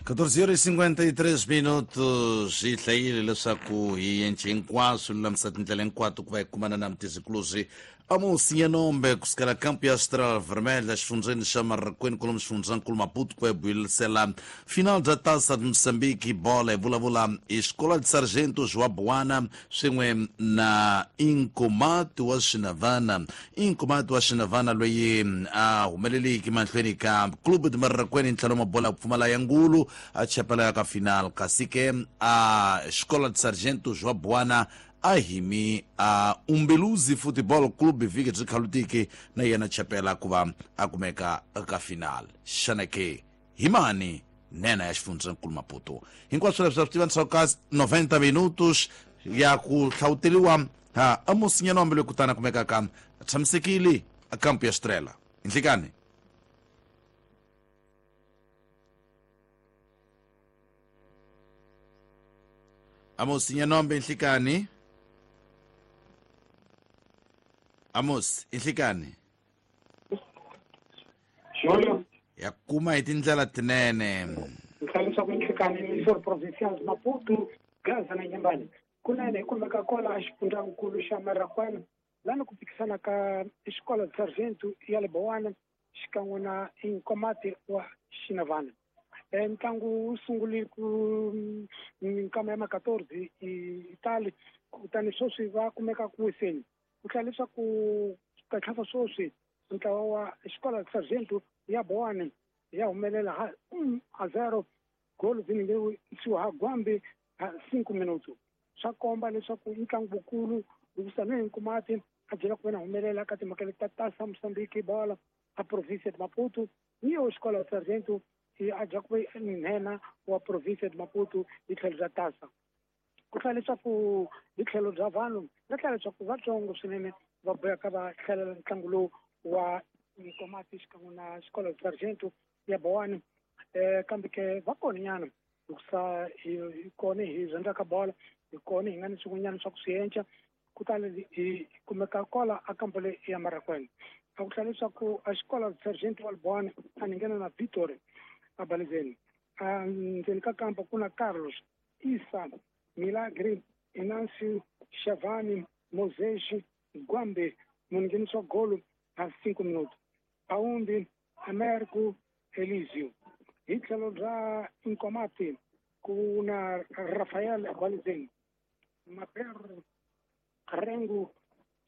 14:53 minutos hi hlayile leswaku hi yence hinkwaswo lulamisa tindlela hinkwato ku va hi kumana na mutizikuluzi Amos Nyanombe kusukela kampu ya Estrela Vermelha xifundzeni xa Marraqueni kwalomu xifundzankulu Maputo ku va hi buyelisela final bya Taça de Moçambique bola hi vulavula hi Escola de Sargentos wa Buwana swin'we na Inkomati wa Xinavana. Inkomati wa Xinavana loyi a humeleliki mahlweni ka Clube de Marraqueni ntlhelo mabola ku pfumala ya ngulu a chapela ya ka final, kasi ke a Escola de Sargentos wa Buwana a himi a Umbeluzi Football Club vhiki byi khalutiki na yena chapela ku va a kumeka ka final. Xana ke hi mani nena ya xifundzankulu Maputo? Hinkwaswo leswi swi tiva ndzhaku ka 90 minutos ya ku hlawuteliwa ha Amos Nyanombe loyi kutani a kumekaka a tshamisekile a kampu ya Estrela. Nhlikani. Amos Nyanombe, nhlikani. Amos, nhlikani. Julio. Ya kuma hi tindlela tinene. Nhlayiso ku nhlikani Missouri Provincial Maputo, Gaza na Nyembani. Kunene hi kumeka kona a xifundzankulu xa Marraquena lani ku phikisana ka xikolo Sargento ya le Bowana xikan'we na Inkomati wa Xinavana. Ntlangu wu sungule ku minkama ya ma 14 Italy, kutani sweswi va kumeka ku wiseni. Ku hlaya leswaku katlhava sweswi ntlawa wa xikolo Sargento ya Bowana ya humelela ha 1-0 golo ziningeriwa ha Gwambi ha 5 minuto. Swa komba leswaku ntlangu wukulu hikusa ni Nkomati a byela ku vena humelela ka timhaka leti ta Taça Moçambique bola a província de Maputo, ni yo xikolo Sargento a dya ku ve nhenha wa província de Maputo hi tlhelo bya Taça. Ku hlaya leswaku hi tlhelo bya vanhu va hlaya leswaku vatsongo swinene va boheka va hlalela ntlangu lowu wa Nkomati xikan'we na xikolo Sargento ya Bowana, kambe ke va kona nyana hikusa hi kona hi rhandzaka bola, hi kona hi nga ni swin'wanyana swa ku swi enca. Kutani hi kumeka kola a kampo leyi ya Marraquena. A ku hlaya leswaku a xikolo Sargento wa Bowana a ni nghena na Victory a Balezeni. A ndzeni ka kampo ku na Carlos, Isa, Milagre, Inancio, Shavani, Moses, Gwambe, mungheniso wa golo ha 5 minuto. Aumbi, Americo, Elisio. Hi tlhelo bya Inkomati ku na Rafael Balezeni, Maper, Rengu,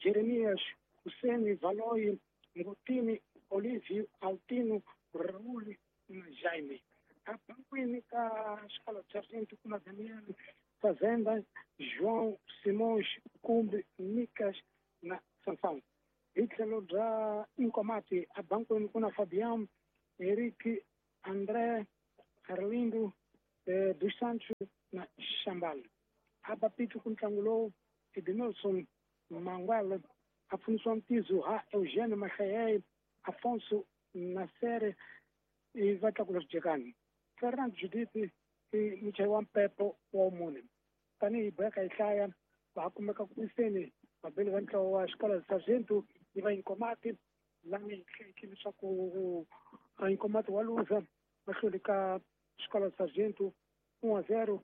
Jeremias, Hussein, Valoyi, Ngutini, Olivio, Altino, Raul na Jaime. A bankwini ka xikolo Sargento ku na Daniel, Fazenda, João, Simões, Kumbi, Micas na Sansão. Hi tlhelo bya Inkomati a bankwini ku na Fabian, Eric, André, Arlindo, dos Santos na Xambala. A Bapito ku ntlangu lowu Edmilson Mangwele a pfunisiwa Mtizo ha Eugênio Mahlayeye, Afonso Nasere i va tlakula swidyekani. Fernand Judith i muchayi wa mpepo wa mune. Tanihi boheka hi hlaya va kumeka ku wiseni vabeli va ntlawa wa xikolo Sargento ni va Inkomati lani hi hlekile leswaku Inkomati wa luza va hlule ka xikolo Sargento 1-0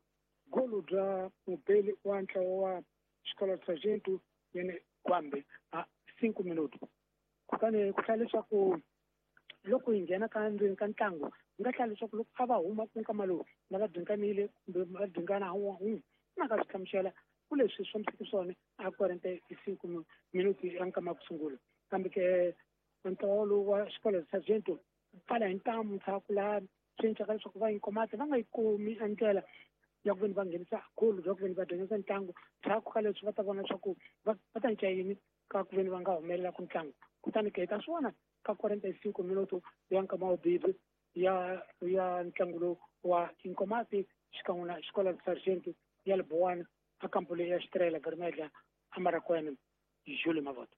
golo bya mubeli wa ntlawa wa xikolo Sargento yene Gwambe a 5 minuto. Kutani ku hlaya leswaku loko hi nghena ka ndzeni ka ntlangu hi nga hlaya leswaku loko a va huma ku nkama lowu na va dinganile kumbe va dingana un'we na ka swi hlamusela ku leswi swi fambiseke swona a 45 minuti ya nkama ku sungula. Kambe ke ntlawa lowu wa xikolo Sargento pfala hi ntamu ndzhaku laha swi endlaka leswaku va Inkomati va nga yi kumi a ndlela ya ku veni va nghenisa golo bya ku veni va dyondzisa ntlangu. Ndzhaku ka leswi va ta vona leswaku va ta cinca yini ka ku veni va nga humelela ku ntlangu. Kutani ke hi ta swi vona ka 45 minuto ya nkama wa bibi ya ntlangu lowu wa Inkomati xikan'we na xikolo Sargento ya le Bowana a kampo leyi ya Estrela Vermelha a Marraquena. Julio Mavoto.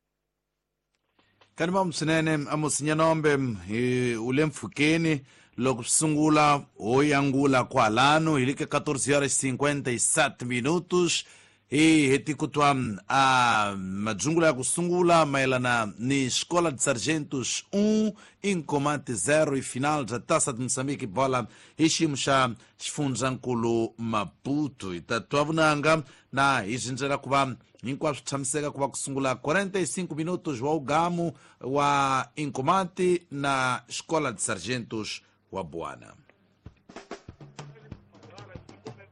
Kanimam swinene Amos Nyanombe hi u le mpfhukeni loko swi sungula ho yangula kwalano hi le ka 14:57 minutos. Hi heti ku twa a madzungula ya ku sungula mayelana ni Escola de Sargentos 1 Inkomati 0 i final bya Taça de Moçambique bola hi xiyimo xa xifundzankulu Maputo. Hi ta twa vunanga na hi zindzela ku va hinkwaswo tshamiseka ku va ku sungula 45 minutos wa ugamu wa Inkomati na Escola de Sargentos wa Buana.